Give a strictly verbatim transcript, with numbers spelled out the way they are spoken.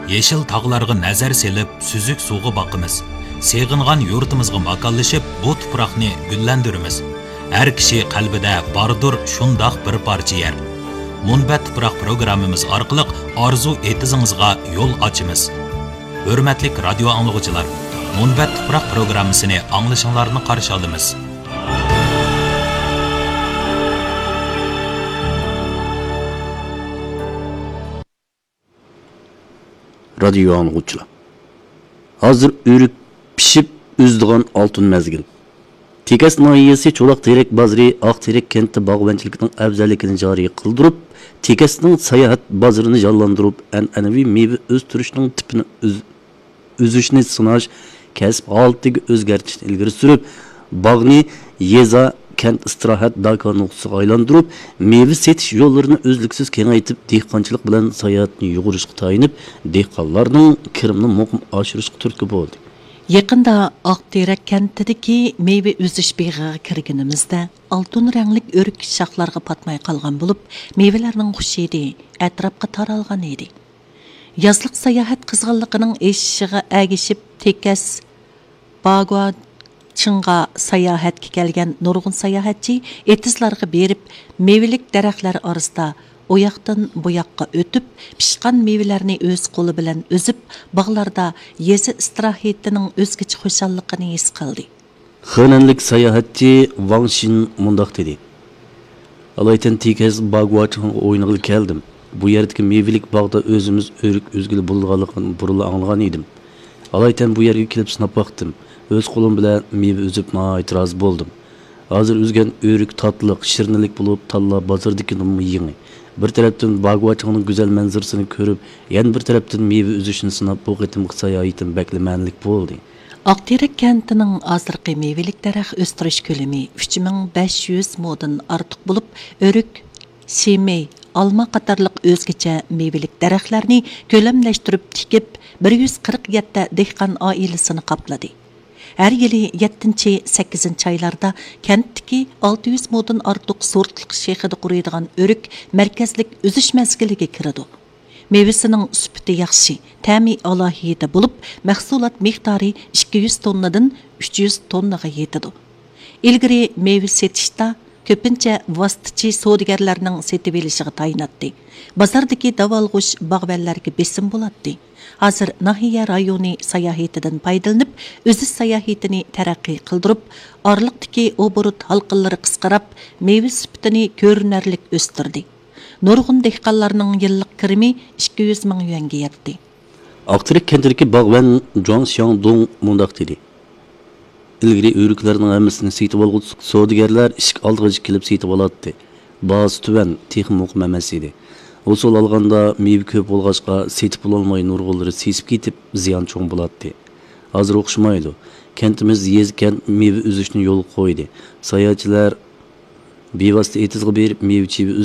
يېشىل تاغلارغا نەزەر سېلىپ، سۈزۈك سۇغا باقىمىز. سېغىنغان يۇرتىمىزغا ماكانلىشىپ، بۇ تۇپراقنى گۈللەندۈرىمىز. ھەر كىشى قەلبىدە باردۇر شۇنداق بىر پارچە يەر. مۇنبەت تۇپراق پروگراممىمىز ئارقىلىق ئارزۇ ئېتىزىڭىزغا يول ئاچىمىز. ھۆرمەتلىك رادىيو ئاڭلىغۇچىلار، مۇنبەت تۇپراق پروگراممىسىنى ئاڭلىشىڭلارنى قارشى ئالىمىز. رادىيو ئاڭلىغۇچىلار، ھازىر ئۆرۈك پىشىپ ئۈزىدىغان ئالتۇن مەزگىل. تېكەس ناھىيەسى چولاق تېرەك بازىرى ئاق تېرەك كەنتى باغۋەنچىلىكىنىڭ ئەۋزەللىكىنى جارى قىلدۇرۇپ، تېكەسنىڭ ساياھەت بازىرىنى جانلاندۇرۇپ، ئەنئەنىۋى مېۋە ئۆستۈرۈشنىڭ تىپىنى ئۈز-، ئۈزۈشنى سىناش، كەسىپ ھالىتىگە ئۆزگەرتىشنى ئىلگىرى سۈرۈپ، باغنى يېزا، كەنت ئىستىراھەت، داكا نۇقتىسىغا ئايلاندۇرۇپ، مېۋە سېتىش يوللىرىنى ئۈزلۈكسىز كېڭەيتىپ، دېھقانچىلىق بىلەن ساياھەتنى يۇغۇرۇشقا تايىنىپ، دېھقانلارنىڭ كىرىمىنى مۇقىم ئاشۇرۇشقا تۈرتكە بولدى. يېقىندا ئاقتېرەك كەنتىدىكى مېۋە ئۈزۈش بېغىغا كىرگىنىمىزدە، ئالتۇن رەڭلىك ئۆرۈك شاخلارغا پاتماي قالغان بولۇپ، مېۋىلەرنىڭ خۇش ھىدى ئەتراپقا تارالغان ئىدى. يازلىق ساياھەت قىزغىنلىقىنىڭ ئېشىشىغا ئەگىشىپ، تېكەس باگۇاچىڭغا ساياھەتكە كەلگەن نۇرغۇن ساياھەتچى ئېتىزلارغا بېرىپ، مېۋىلىك دەرەخلەر ئارىسىدا ئۇياقتىن بۇياققا ئۆتۈپ، پىشقان مېۋىلەرنى ئۆز قولى بىلەن ئۈزۈپ، باغلاردا يېزا ئىستىراھىتىنىڭ ئۆزگىچە خۇشاللىقىنى ھېس قىلدى. خېنەنلىك ساياھەتچى ۋاڭ شىن مۇنداق دېدى: ئالايتەن تېكەس باگۇاچىڭغا ئوينىغىلى كەلدىم. بۇ يەردىكى مېۋىلىك باغدا ئۆزىمىز ئۆرۈك ئۈزگىلى بولىدىغانلىقىنى بۇرۇنلا ئاڭلىغان ئىدىم. ئالايتەن بۇ يەرگە كېلىپ سىناپ باقتىم. ئۆز قولۇم بىلەن مېۋە ئۈزۈپ ناھايىتى رازى بولدۇم. ھازىر ئۈزگەن ئۆرۈك تاتلىق، شىرنىلىك بولۇپ، تاللا بازىرىدىكىدىنمۇ يېڭى. بىر تەرەپتىن باگۇاچىڭنىڭ گۈزەل مەنزىرىسىنى كۆرۈپ، يەنە بىر تەرەپتىن مېۋە ئۈزۈشنى سىناپ، بۇ قېتىمقى ساياھىتىم بەكلا مەنىلىك بولدى. ئاقتېرەك كەنتىنىڭ ھازىرقى مېۋىلىك دەرەخ ئۆستۈرۈش كۆلىمى ئۈچ مىڭ بەش يۈز مودىن ئارتۇق بولۇپ، ئۆرۈك، شىمەي، ئالما قاتارلىق ئۆزگىچە مېۋىلىك دەرەخلەرنى كۆلەملەشتۈرۈپ تىكىپ، بىر يۈز قىرىق يەتتە دېھقان ئائىلىسىنى قاپلىدى. ھەر يىلى يەتتىنچى، سەككىزىنچى ئايلاردا كەنتتىكى ئالتە يۈز مودىن ئارتۇق سورتلۇق شېخىدا قۇرۇيدىغان ئۆرۈك مەركەزلىك ئۈزۈش مەزگىلىگە كىرىدۇ. مېۋىسىنىڭ سۈپىتى ياخشى، تەمى ئالاھىدە بولۇپ، مەھسۇلات مىقدارى ئىككى يۈز توننىدىن ئۈچ يۈز توننىغا يېتىدۇ. ئىلگىرى مېۋە سېتىشتا كۆپىنچە ۋاسىتىچى سودىگەرلەرنىڭ سېتىۋېلىشىغا تايىناتتى. بازاردىكى داۋالغۇش باغۋەنلەرگە بېسىم بولاتتى. ھازىر ناھىيە رايونى ساياھىتىدىن پايدىلىنىپ، ئۈزۈش ساياھىتىنى تەرەققىي قىلدۇرۇپ، ئارىلىقتىكى ئوبوروت ھالقىلىرى قىسقىراپ، مېۋە سۈپىتىنى كۆرۈنەرلىك ئۆستۈردى. نۇرغۇن دېھقانلارنىڭ يىللىق كىرىمى ئىككى يۈز مىڭ يۈەنگە يەتتى. ئاقتېرەك كەنتىدىكى باغۋەن جۇاڭ شياڭدۇڭ مۇنداق دېدى: ئىلگىرى ئۆرۈكلەرنىڭ ھەممىسىنى سېتىۋالغۇچى سودىگەرلەر ئىشىك ئالدىغىچە كېلىپ سېتىۋالاتتى. باھاسى تۆۋەن، تېخىمۇ مۇقىم ئەمەس ئىدى. ھوسۇل ئالغاندا مېۋە كۆپ بولغاچقا، سېتىپ بولالماي نۇرغۇنلىرى سېسىپ كېتىپ، زىيان چوڭ بولاتتى. ھازىر ئوخشىمايدۇ. كەنتىمىز يېزا-كەنت مېۋە ئۈزۈشنى يولغا قويدى. ساياھەتچىلەر بىۋاسىتە ئېتىزغا بېرىپ، مېۋە-چېۋە